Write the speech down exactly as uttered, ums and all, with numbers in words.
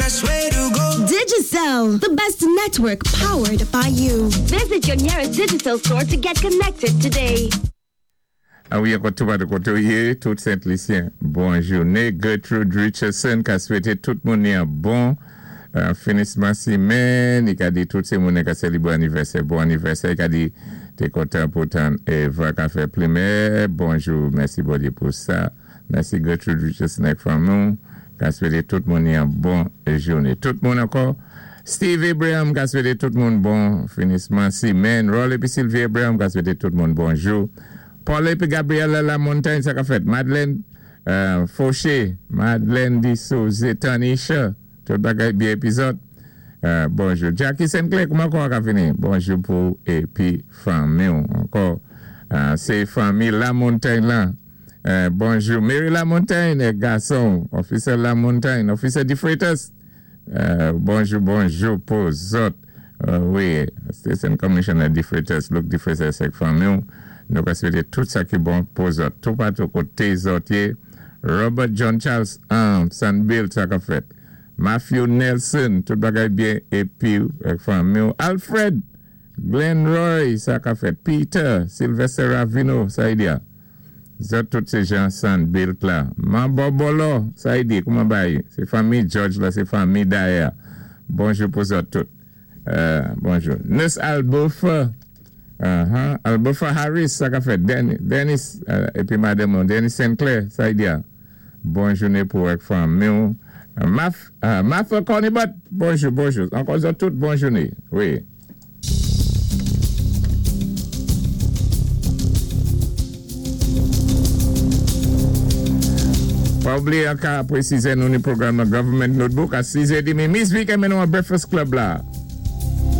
best way to go. Digicel, the best network powered by you. Visit your nearest Digicel store to get connected today. A wi, ankò tou patou koté ou yé, tout Sent-Lisyen, bon jouné. Gertrude Richardson ka swété tout moun yon bon euh, finisman simenn. I ka di tout sé moun ka sélébwé anivèsè, bon anivèsè. I ka di té kontan pou tann Eva ka fè plimè. Bonjou, mèsi Bondyé pou sa. Mèsi Gertrude Richardson ak fanmi. Ka swété tout moun yon bon jouné. Tout moun ankò. Steve Abraham ka swété tout moun bon finisman simenn. Rolly pi Sylvie Abraham ka swété tout moun bonjou. Paul épi Gabriella La Montagne, sa ka fèt. Madeleine euh, Fauché, Madeleine Dissouze, Tanisha, tout bagay byen épi zòt. Euh, bonjou. Jackie Sinclair, kouman kon ka fini? Bonjou pou épi fanmi ankò. Euh, sé fanmi La Montagne la. Euh, bonjou. Mary La Montagne, gason, Officer La Montagne, Officer DeFreitas. Euh, bonjou, bonjou pou zòt. Euh, wi, Station Commissioner DeFreitas, Luke DeFreitas ak fanmi. Nou ka swété tout sa ki bon pou zòt. Tou patou koté zòt yé. Robert John Charles, um, Sanbill, sa ka fèt. Matthew Nelson, tout bagay byen épi ak fanmi. Alfred Glenn Roy, sa ka fèt. Peter Sylvester Ravino, sa i di. Zòt tout sé jan Sanbill la. Mambo Bolo, sa i di, kouman bay? Sé fanmi George la, sé fanmi Daya. Bonjou pou zòt tout. Euh, bonjou. Nurse Albofa, uh-huh. Albofa Harris, sa ka fèt. Dennis, Dennis euh, épi madanm, Dennis Sinclair, sa i di. Bon jouné pou ak fanmi. Maf, euh, Martha Cornibut, bonjou, bonjou. Ankò zòt tout, bon jouné. Wi. Pa oubliyé ka pwésizé nou ni pwogram nan Government Notebook a sis è demi. Miss Vicky men nou an Breakfast Club la.